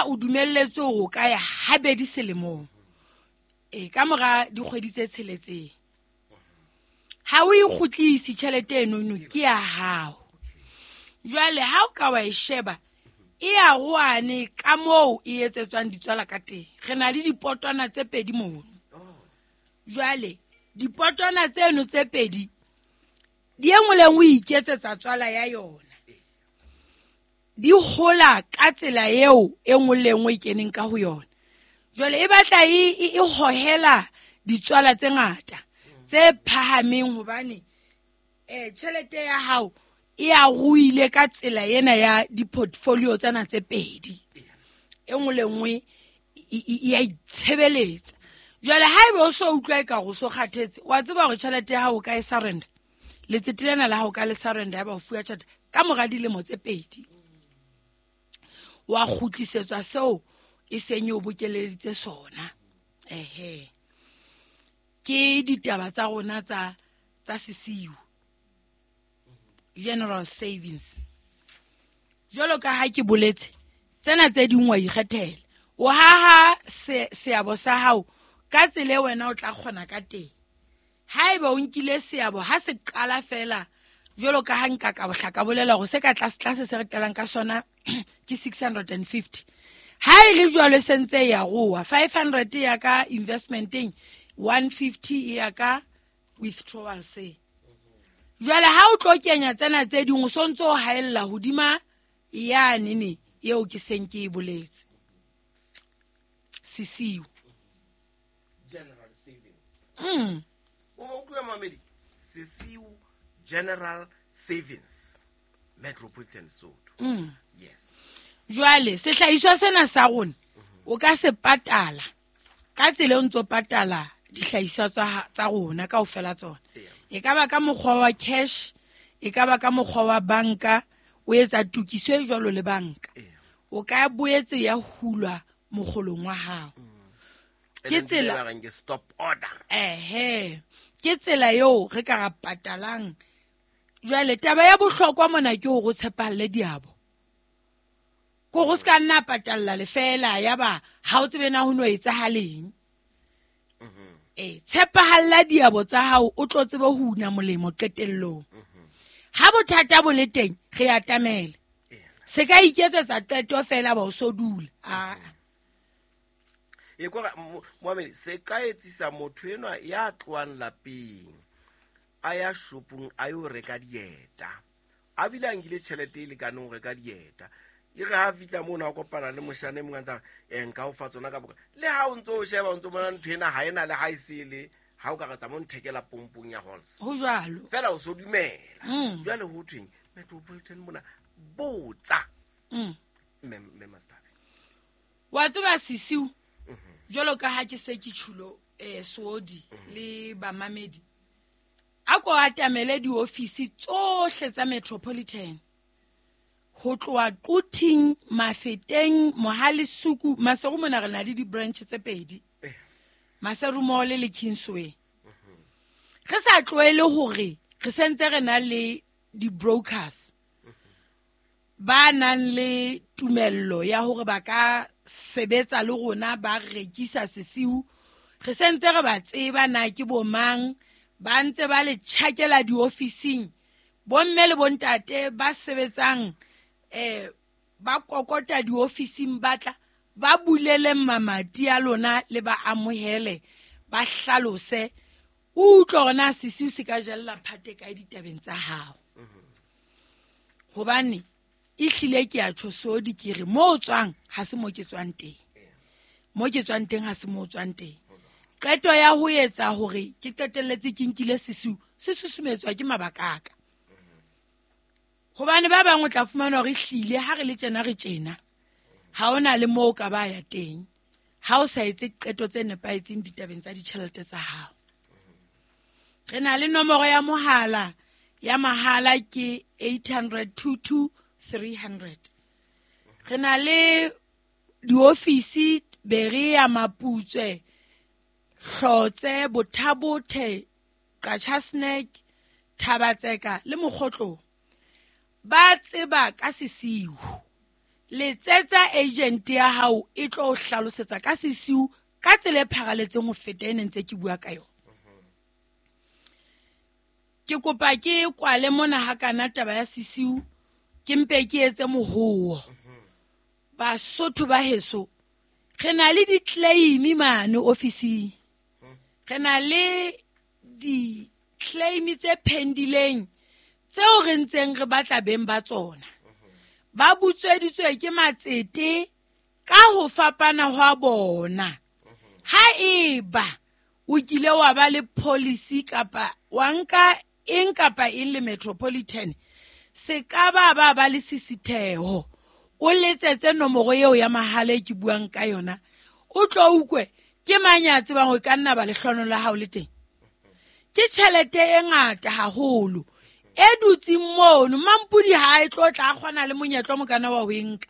Feela o dumelletswe hore o ka ya habedi selemong. E ka mora dikgwedi tse tsheletseng. Ha o e kgutlise tjhelete enono ke ya hao. Jwale ha o ka wa e sheba e ya roane ka moo e etsetswang ditswala ka teng. Re na le dipotwana tse pedi mono. Jwale dipotwana tseno tse pedi di e nngwe le nngwe e iketsetsa tswala ya yona. Di hola ka tsela eo e nngwe le nngwe e keneng ka ho yona. Jwale e batla e hohela ditswala tse ngata tse phahameng hobane tjhelete ya hao e a ruile ka tsela ena ya di-portfolio tsena tse pedi. E nngwe le nngwe e a itshebeletsa. Jwale haeba o so utlwa e ka go so kgathetse, wa tseba hore tjhelete ya hao o ka e surrender. Letsete lena la hao ka le surrender ya ba o fuwa tjhelete ka mora dilemo tse pedi. Wa kgutlisetswa seo e seng e o bokeleditse sona. Ehe. Ke ditaba tsa rona tsa sesiu. General savings. Jwalo ka ha ke boletse, tsena tse ding wa ikgethela. O haha seabo sa hao ka tsela e wena o tla kgona ka teng. Haeba o nkile seabo ha se qala fela jwalo ka ha nka ka bohla ka bolela hore se ka tlase tlase se re qalang ka sona ke 650. Ha e le jwalo se ntse e ya roa 500 ya ka investmenteng, 150 e ya ka withdrawal se. Jwale ha o tlo kenya tsena tse ding o sontse o haella hodima yane ne eo ke seng ke e boletse. Sesiu. General savings. O ba utlwa mamedi? Sesiu General Savings. Metropolitan Sotho. Yes. Jwale sehlahiswa sena sa rona o ka se patala ka tsela e o ntso patala dihlahiswa tsa rona kaofela tsona. E ka ba ka mokgwa wa cash, e ka ba ka mokgwa wa banka, o etsa tokiso e jwalo le banka. O ka boetse ya hulwa mokgolong wa hao. Ke tsela ke stop order. Ehe. Ke tsela eo re ka ra patalang. Jwale taba ya bohlokwa mona ke hore o tshepahalle diabo. Ko go se ka nna patalla lefela ya ba ha o tsebe na ho no etsahaleng. Tshepahalla diabo tsa hao o tlo tsebe ho una molemo qetellong. Ha bothata bo le teng re atamele. Se ka iketsetsa qeto fela ba o so dula. A e kwa Mohammed se ka etsisa motho enwa ya tlohang lapeng a ya shopong a yo reka dieta, a bile a nkile tjhelete e lekaneng ho reka dieta. E re ha fihla mono a kopana le moshane e mong a ntsa re, nka o fa tsona ka boka. Le ha o ntso o sheba o ntso bona ntho ena ha ena le ha e se le ha o ka re tsamaya o nthekela pompong ya Halls. Ho jwalo. Fela o so dumela. Jwale ho thweng Metropolitan mona botsa. Mme Master. Wa tseba sisiu jwalo ka ha ke se ke tjhulo Soodi le bamamedi. A ko atamele diofisi tsohle tsa Metropolitan. Ho tloha Quthing, Mafeteng, Mohalesuku, Maseru mona re na le di-branch tse pedi. Maseru Mall le Kingsway. Re sa tlohele hore re sentse re na le di-brokers ba nang le tumello ya hore ba ka sebetsa le rona ba rekisa sesiu. Re sentse re ba tseba na ke bo mang, ba ntse ba le tjhakela diofising. Bomme le bontate ba sebetsang ba kokota diofising ba tla ba bulele mamati a lona le ba amohele ba hlalose. O utlwe hore na sesiu se ka jella phate kae ditabeng tsa hao. Hobane e hlile ke a tjho Soodi ke re mo o tswang ha se mo ke tswang teng. Mo ke tswang teng ha se mo o tswang teng. Qeto ya ho etsa hore ke qetelletse ke nkile sesiu se susumetswa ke mabaka a ka. Hobane ba bang o tla fumana hore ehlile ha re le tjena re tjena, ha ona le moo o ka ba ya teng ha o sa etse qeto tse nepahetseng ditabeng tsa ditjhelete tsa hao. Re na le nomoro ya mohala ya mahala ke 800 22 300. Re na le diofisi Berea, Maputswe, Hlotse, Bothabothe, Qacha's Nek, Thabatseka le Mokgotlong. Ba tseba ka sesiu. Letsetsa agent ya hao e tlo o hlalosetsa ka sesiu ka tsela e pharaletseng ho feta e ne ntse ke bua ka yona. Ke kopa ke kwale mona ha kana taba ya sesiu, ke mpe ke etse mohowo. Basotho ba heso, re na le di-claim mane ofising. Re na le di-claim tse pendileng tseo re ntseng re batla beng ba tsona. Ba butsweditswe ke matsete ka ho fapana hwa bona. Ha eba o kile wa ba le policy kapa wa nka eng kapa eng le Metropolitan, se ka ba ba ba le sisitheho. O letsetse nomoro eo ya mahala e ke buang ka yona, o tlo utlwe ke mang ya tsebang hore ka nna ba lehlono la hao le teng. Ke tjhelete e ngata haholo e dutseng mono. Mampudi ha e tlo tla kgona le monyetla o mokana wa ho e nka,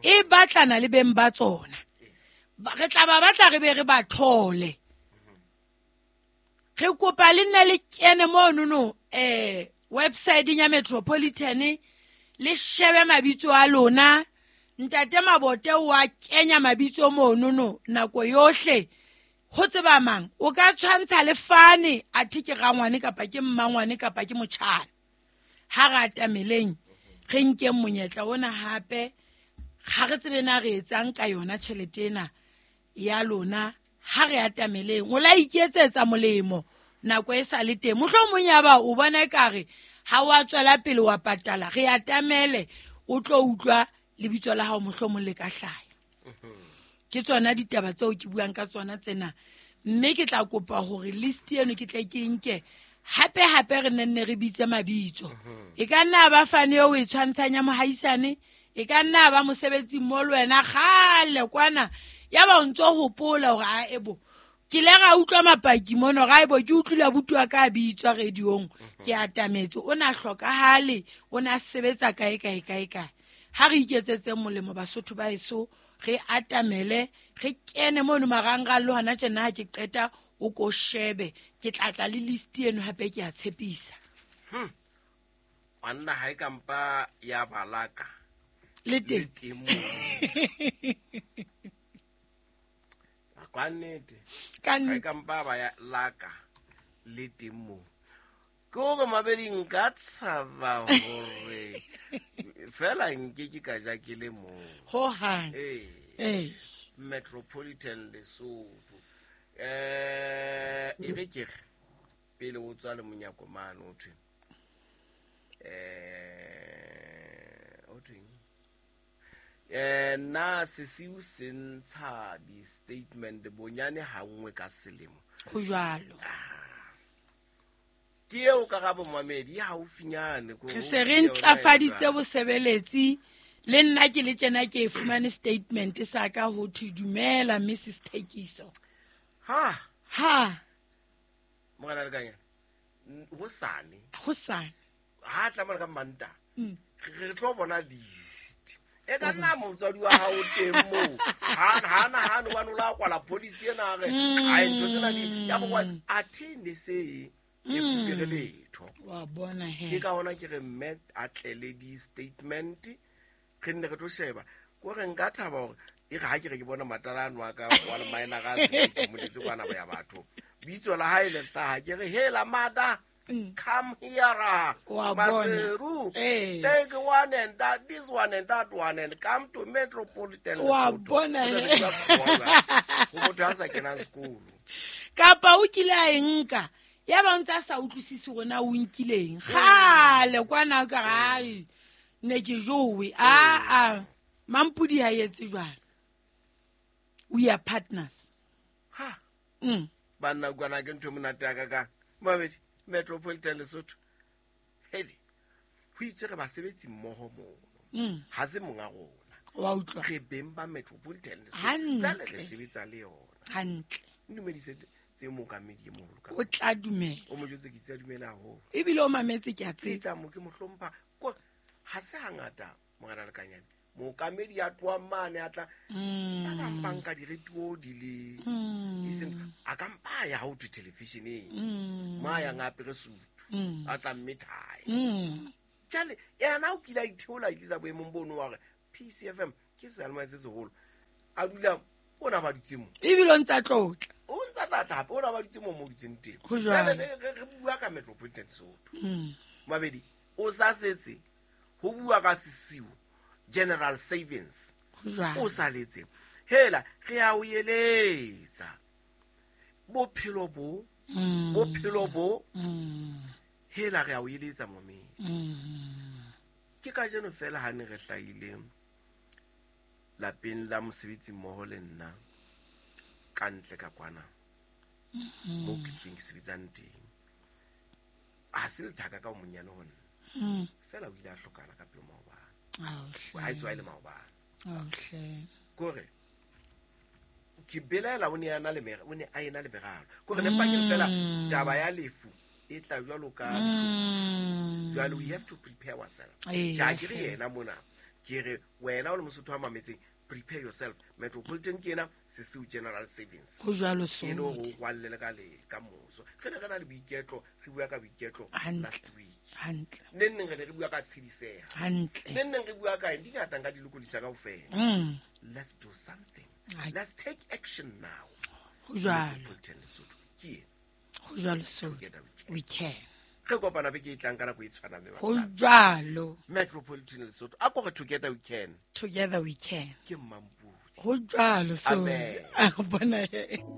e batlana le beng ba tsona. Re tla ba batla re be re ba thole. Re kopa le nne le kene monono website ya Metropolitan, le shebe mabitso a lona. Ntate Mabote wa kenya mabitso monono nako yohle. Ho tseba mang o ka tshwantsha le fane athe ke rangwane kapa ke mmangwane kapa ke motjhana. Ha re atameleng re nkeng monyetla ona hape, ha re tsebe na re etsang ka yona tjhelete ena ya lona. Ha re atameleng, o la iketsetsa molemo nako e sa le teng. Mohlomong ya ba o bona ekare ha wa tswela pele wa patala, re atamele o tlo utlwa lebitso la hao mohlomong le ka hlaya. Ke tsona ditaba tseo ke buang ka tsona tsena, mme ke tla kopa hore list eno ke tle ke nke hape hape re nenne re bitse mabitso. E ka nna ba fane eo e tshwantshanya mohaisane, e ka nna ba mosebetsi mo le wena kgale kwana, ya ba o ntso hopola hore a ebo ke le ra utlwa mapaki mono, ra ebo ke utlwile abuti wa ka a bitswa radiong, ke atametse, o na hlokahale, o na sebetsa kae kae kae kae. Ha re iketsetseng molemo Basotho ba heso, re atamele, re kene mono marangrang le hona tjena ha ke qeta o ko shebe, ke tla tla le list eno hape ke a tshepisa. Wanna ha e kampa ya balaka le teng. Le teng moo. Ka nnete. Ka Ha e nnete. kampa ba ya laka le teng moo. Ke hore mabedi nka tshaba hore fela nke ke ka ja ke le mong. Ho hang. Ee. Ee. Metropolitan Lesotho. E re ke re pele o tswa le monyako mane o thwe. O thweng? Na sesiu se ntsha di-statement bonyane ha nngwe ka selemo. Ho jwalo. Ke eo karabo Mohamedi, e haufinyane ko Re se re ntlafaditse bosebeletsi, le nna ke le tjena ke e fumane statement sa ka ho thwe dumela Mrs Thekiso. Ha. Ha. Morena Lekanyane, hosane. Hosane. Ha tla mona ka Mantaha. Re tlo bona list. E ka nna motswadi wa hao teng moo. Ha, ha nahane hobane o la kwala policy ena a re, ai, ntho tsena di, ya bo kwa, athe ne se e fupere letho. Wa bona he. Ke ka hona ke re mme a tle le di-statement, re nne re tlo sheba. Ko re nka thaba hore e re ha ke re ke bona matala ano a ka wa le maena ga a se ke moletse kwana ba ya batho. Bitso la hae le hlaha, ke re, hela mada, come here, Wa bona. Maseru. Ee. Take one and that, this one and that one, and come to Metropolitan Wa Lesotho. bona O tla he. se ke sekolo, ho motho a sa kenang sekolo. Kapa o kile a e nka, ya ba o ntse a sa utlwisise hore na o nkileng. Kgale kwana o ka re, ai, ne ke jowe. Aa, Mampudi ha etse jwalo. We are partners. Ha. Banna kwana ke ntho e monate ya ka kang. Mohamedi, Metropolitan Lesotho. Hedi, ho itse re basebetsi mmoho mono. Ha se monga rona. Wa utlwa. Re beng ba Metropolitan Lesotho. Hantle. Jwale re sebetsa le yona. Hantle. Ntumedise tse mookamedi e moholo ka O tla dumela. O mo jwetse ke itse a dumela haholo. Ebile o mametse ke a Ke tseba. tla mo ke mo hlompha. Ko, ha se hangata, Morena Lekanyane, mookamedi ya tlohang mane a tla, ba bang ba nka diretuo di le, e seng, a ka mpa a ya ha ho thwe television-eng. Mo a yang a apere sutu, a tla mme thae. Jwale, yena o kile a itheola, a itlisa boemong bono wa hore PCFM ke seyalemoya se seholo. A dula o na ba dutse mo. Ebile o ntsa tlotla. O ntsa tlatla hape o na ba dutse mo mo dutseng teng. Ho jwalo. Jwale re bua ka Metropolitan Sesotho. Mabedi o sa setse ho bua ka Sesiu General Savings. Ho jwalo. O sa letse. Hela re a o eletsa. Bophelo bo bophelo bo hela re a o eletsa momedi. Ke kajeno fela ha ne re hlahile lapeng la mosebetsi mmoho le nna ka ntle ka kwana mo ke hleng ke sebetsang teng. Ha se lethaka ka o monyane ho nna. Fela o ile a hlokahala ka pele maobane. Ha e tswa e le maobane. Kore ke belaela o ne a na le o ne a ena le meralo. Kore ne pakeng fela taba ya lefu e tla jwalo ka lesotho. Jwale we have to prepare ourselves. Ja ke re yena mona. Ke re wena o le Mosotho wa mametseng, prepare yourself. Metropolitan ke ena Sesiu General Savings. Ho jwalo E le hore Sodi. o kwallele ka le ka moso. Re ne re na le boiketlo, re bua ka boiketlo Hantle. last week. Hantle. Neng neng re ne re bua ka tshidiseha. Hantle. Neng neng re bua ka eng, di ngata nka di lokodisa kaofela. Let's do something. Ai. Let's take action now. Ho jwalo. Metropolitan Lesotho ke ena. Ho jwalo Sodi. Together we can. We can. Re kopana beke e tlang ka nako e tshwanang le Ho basadi. jwalo. Metropolitan Lesotho. A ko re together we can. Together we can. Ke Mmampudi. Ho jwalo Sodi. Amen. A bona he.